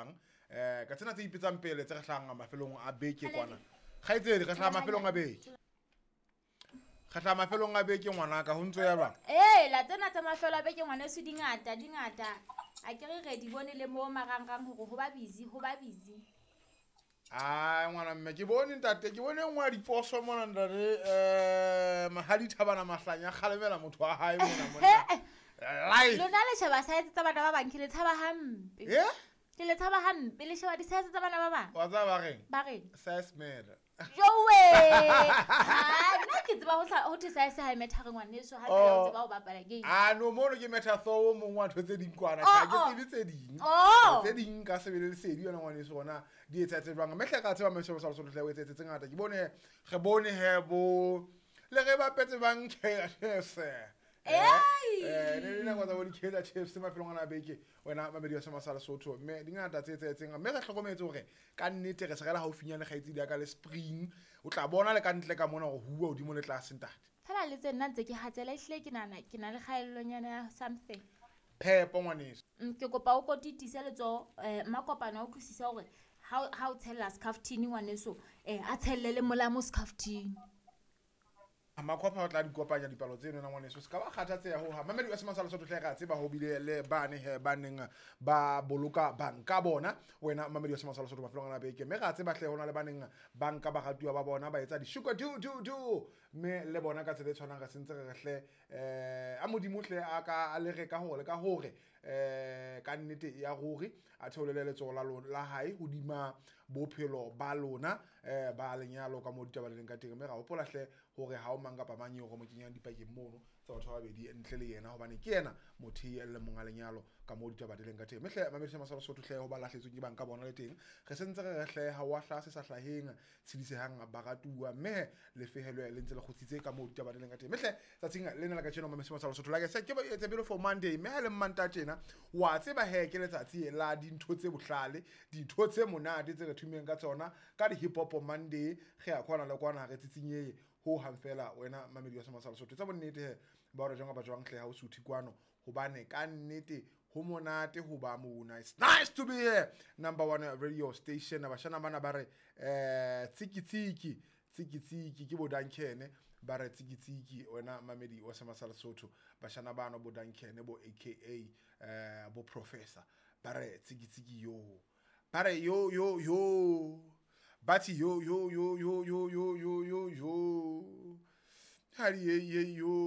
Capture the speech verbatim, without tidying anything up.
jwang. Eh ka tsena tse ipetsang pele tse re hlahang mafelong a beke kwana. Kgaitsedi re hlaha mafelong a beke. Re hlaha mafelong a beke ngwanaka ho ntso ya jwang? Eh la tsena tsa mafelo a beke ngwaneso di ngata di ngata. A ke re re di bone le mo marangrang hore ho ba busy ho ba busy. Ah ngwana mme ke bone ntate ke bone nngwe ya diposo mona ntate eh Mahadi Thabana Mahlanya kgalemela motho wa hae mona monna. Live. Lona le sheba size tsa bana ba bang ke le tshaba hampe. Eh? Ke le tshaba hampe le sheba di-size tsa bana ba bang. Wa tsaba ba reng? Ba reng? Size matter. Jowe. Ha nna ke tseba ho sa ho thwe size ha e matter ngwaneso ha fela o tseba ho bapala game. Ah no mono ke matter so o mong wa ntho tse ding kwana Oh, ha ke oh. tsebe tse ding. Oh. Tse ding ka sebele lesedi yona ngwaneso hona di etsa tse jwang. Mme hle ka tseba mme sa Lesotho hle o etse tse ngata. Ke bone re bone he bo le re bapetse bang Chiefs. Ei! Eh ne dinako tsa bo di-Kaizer Chiefs mafelong ana a beke wena mamedi wa Sema sa Lesotho mme di ngata tse etsahetseng mme re hlokometse hore ka nnete re se re le haufinyane kgaitsedi ya ka le spring o tla bona le ka ntle ka mona hore huwa hodimo le tlase ntate. Fela le tse nna ntse ke hatsela ehlile ke nahana ke na le kgaellonyana ya something. Phepo ngwaneso. Mm, ke kopa o ko titise letsoho eh Makopano a utlwisise hore ha ha o tshella scaftini ngwaneso eh a tshelle le molamo scaftini. Makhwapha o tla di kopanya dipalo tseno na ngwaneso se ka ba kgathatseha ho ha mamedi wa Sema sa Lesotho hle re a tseba ho bile le bane he ba neng ba boloka banka bona wena mamedi wa Sema sa Lesotho mafelong ana a beke mme re a tseba hle hona le ba neng banka ba ratuwa ba bona ba etsa di-sugar do do do mme le bona ka tsela e tshwanang re sentse re re hle eh a modimo hle a ka a le re ka hore le ka hore eh ka nnete ya ruri a theolele letsoho la lona la hae hodima bophelo ba lona eh ba lenyalo ka mo ditaba le leng ka teng mme ra hopola hle hore ha o mang kapa mang eo re mo kenyang dipakeng mono tsa batho ba babedi ntle le yena hobane ke yena motho e le monga lenyalo ka mo ditaba di leng ka teng mme hle mamedi Sema sa Lesotho hle ho ba lahletsweng ke banka bona le teng re sentse re re hle ha wa hlaha se sa hlaheng tshedisehang baratuwa mme le fehelwe le ntse le kgutsitse ka mo ditaba di leng ka teng mme hle tsatsing lena la kajeno mamedi Sema sa Lesotho like I said ke it's a beautiful Monday mme ha le Mantaha tjena wa tseba he ke letsatsi la dintho tse bohlale dintho tse monate tse re thumeng ka tsona ka di hip hop Monday re ya kwana le kwana re tsitsinyeye ho hang fela wena mamedi wa Sema sa Lesotho tsa bonnete he ba hore jwang kapa jwang hle ha o suthe kwano hobane ka nnete ho monate ho ba mona. It's nice to be here number one radio station. Bashana bana ba re eh tsiki tsiki tsiki tsiki ke bo Duncan ba re tsiki tsiki wena mamedi wa Sema sa Lesotho bashana bano bo Duncan bo A K A eh bo professor ba re tsiki tsiki yo ba re yo yo yo Bati yo yo yo yo yo yo yo yo yo. Hari ye ye yo.